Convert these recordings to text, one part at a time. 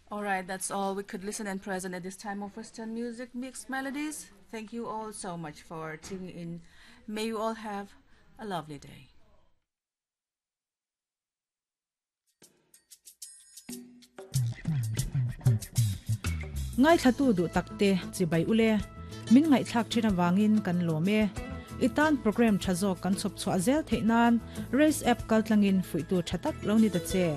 Alright, that's all we could listen and present at this time of Western music mixed melodies. Thank you all so much for tuning in. May you all have a lovely day. Ngaithlatu duh takte chibai ule min ngaihthlak thin awangin kan lawm e. I tan program tha zawk kan chhawp chhuah zel theih nan Race app kaltlangin fuihtu tha tak lo ni ta che.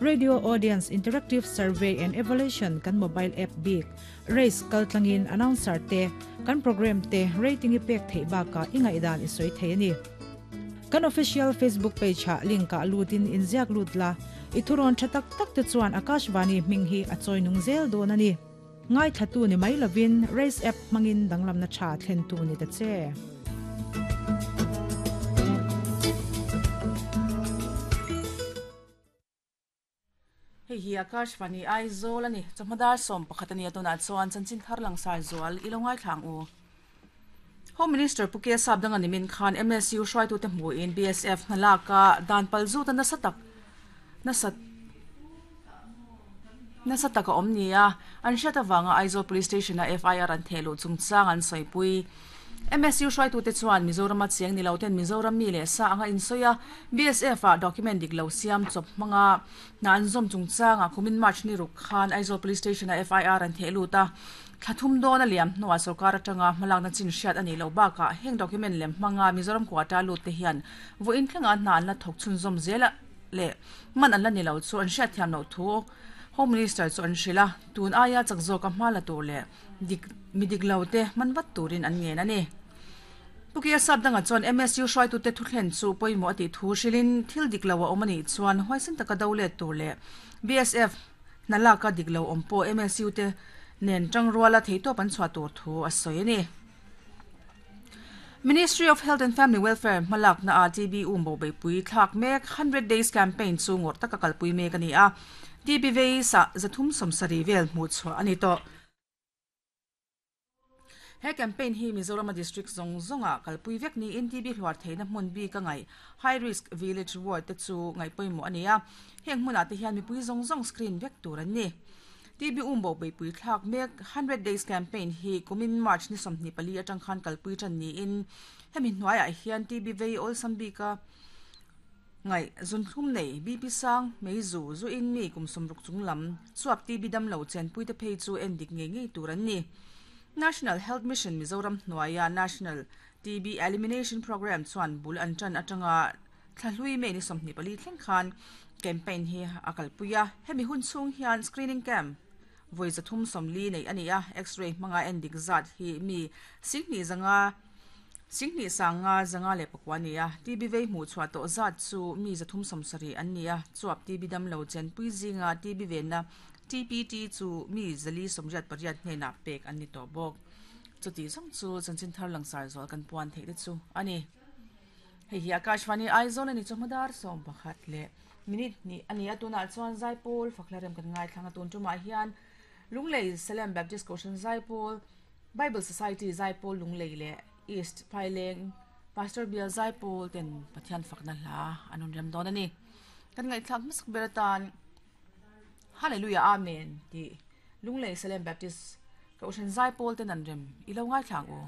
Radio Audience Interactive Survey and Evaluation kan mobile app bik Race kaltlangin announcer te kan program te rating i pek theih bakah i ngaihdan i sawi thei a ni. Kan official Facebook page ah link ah lutin inziak lut la, i thurawn tha tak tak te chuan Akashvani hming hi a chawi nung zel dawn a ni. Ngaithlatu ni mai lovin Race app hmangin danglamna tha thlentu ni ta che. Hei hi Akashvani Aizawl a ni. Chawhma dar 11 a ni a, tunah chuan chanchin thar langsar zual i lo ngaithla ang u. Home Minister Pu K Sapdanga nimin khan MSU hruaitute hmuhin BSF hna laka dan pal zuta nasa tak nasa nasa tak a awm ni a, an hriat avanga Aizawl Police Station-a FIR an theh luh chungchang an sawipui. MSU hruaitute chuan Mizorama chiang ni lo ten Mizoram mi leh sa anga insawi a, BSF ah document dik lo siam chawp hmanga hna an zawm chungchangah kumin March ni ruk khan Aizawl Police Station ah FIR an theh lut a. Thla thum dawn a liam hnuah sorkar atanga hmalakna chin hriat a nih loh bakah heng document lem hmanga Mizoram quota lut te hian vawiin thlengah hna an la thawk chhunzawm zel a leh man an la ni lo chu an hriatthiam loh thu Home Minister chu an hrilh a, tun aia chak zawka hma la tur leh Dik, mi dik lo te hman vat turin an ngen a ni. Pu Kia Sapdanga chuan MSU hruaitute thuthlen chu pawimawh a tih thu hrilhin thil dik lo a awm a nih chuan huaisen taka do let tur leh BSF hna laka dik lo awm pawh MSU te nen tangruala theihtawp an chhuah tur thu a sawi a ni. Ministry of Health and Family Welfare hmalakna ah TB um bo beihpui thlak mek 100 Days Campaign chu ngawrh taka kalpui mek a ni a, TB vei sah 370 vel hmuh chhuah a ni tawh. He campaign hi Mizorama district zawng zawngah kalpui vek niin TB hluar theihna hmun bik a ngaih high risk village ward te chu ngaih pawimawh a ni a, heng hmunah te hian mipui zawng zawng screen vek tur an ni. TB umbo beihpui thlak mek 100 days campaign hi kumin March ni 24 atang khan kalpui tan niin hemi hnuaiah hian TB vei awlsam bika Ngaih, zunthlum nei, BP sang, meizu, zu in mi kum sawmruk chung lam, chuap TB damlo chenpuite phei chu en dik ngei ngei tur an ni. National Health Mission Mizoram hnuaia National TB Elimination Programme chuan bul an tan atanga thlahlui May ni 24 thleng khan campaign hi a kalpui a. Hemi hun chhung hian screening camp vawi 340 neih a ni a, X-ray hmanga en dik zat hi mi 2500 Singhnih sanga zanga leh pakua a ni a, TB vei hmuh chhuah tawh zat chu mi 370 an ni a, chuap TB damlo chenpui zinga TB venna TPT chu mi 488 hnenah pek an ni tawh bawk. Chutih zawng chu chanchin thar langsar zual kan puan theih te chu a ni. Hei hi Akashvani Aizawl a ni chu hmadar 11 leh minute hnih a ni a, tunah chuan Zaipawl Fakhlarem kan ngaithlang a, tun tumah hian Lunglei Salem Baptist Kohhran Zaipawl, Bible Society Zaipawl Lunglei leh East Phaileng Pastor Bial Zaipawl ten Pathian fakna hla an rawn rem dawn a ni. Kan ngaihthlak hmasak ber atan Hallelujah Amen tih Lunglei Salem Baptist Kohhran Zaipawl ten an rem i lo ngaithla ang u.